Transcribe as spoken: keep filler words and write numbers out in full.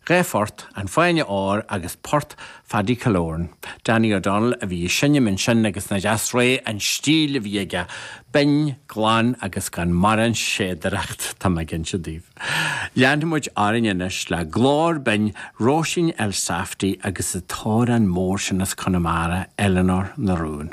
Dhá phort, an Fáinne Óir agus Port Phaddy Killoran. Danny O'Donnell a bhí ag seinm ansin agus nach deas réidh an stíl a bhí aige, binn, glan agus gan mórán séadaireacht tá mé ag inse daoibh. Leanfaidh muid orainn anois le glór binn Róisín Elsafty agus an t-amhrán mór sin as Conamara, Eleanor na Rún.